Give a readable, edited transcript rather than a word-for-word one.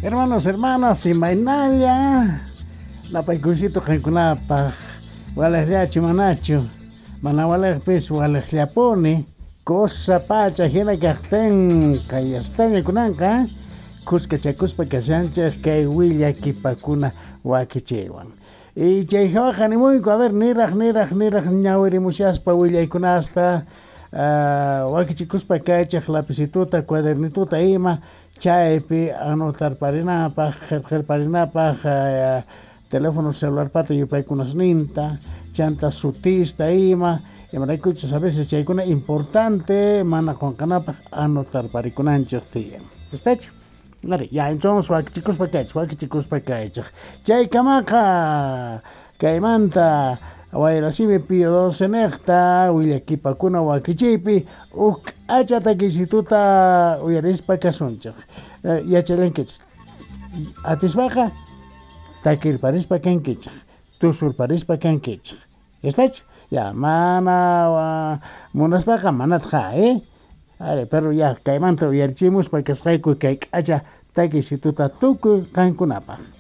Hermanos, hermanas, imaynalla napaykuysito qankunapaj walejllachu manachu mana walejpis walejllapuni cosa pacha hina kajtin kayastaña kunanqa khuskachakuspa kashanchej kay willakipakuna wakichiywan. Y chay hawaqa nimuyku, a ver, niraj niraj niraj ñawirimushaspa willaykunasta wakichikuspa kaychej lapicituta cuadernituta ima chaypi anotarparinapaj qhelqelparinapaj teléfono celularpata yupaykunasninta chanta sutista ima imaraykuchus a veces chaykuna importante mana qonqanapaj anotarparikunanchej tiyan. ¿Estachu? Ari, ya entonces wakichikuspa kaychej, wakichikuspa kaychej. Chaykamaqa kaymanta Wayrasimi Pío XII nejta willakipakuna wakichiypi uj k'acha takisituta uyarispa kasunchej. Yachallankichej. Atispaqa takirparispa kankichej, tusurparispa kankichej. ¿Estachu? Ya, mana munaspaqa manatqa, eh? Ari, pero ya kaymanta uyarichimuspa kasqayku kay k'acha takisituta tukuy qankunapaj.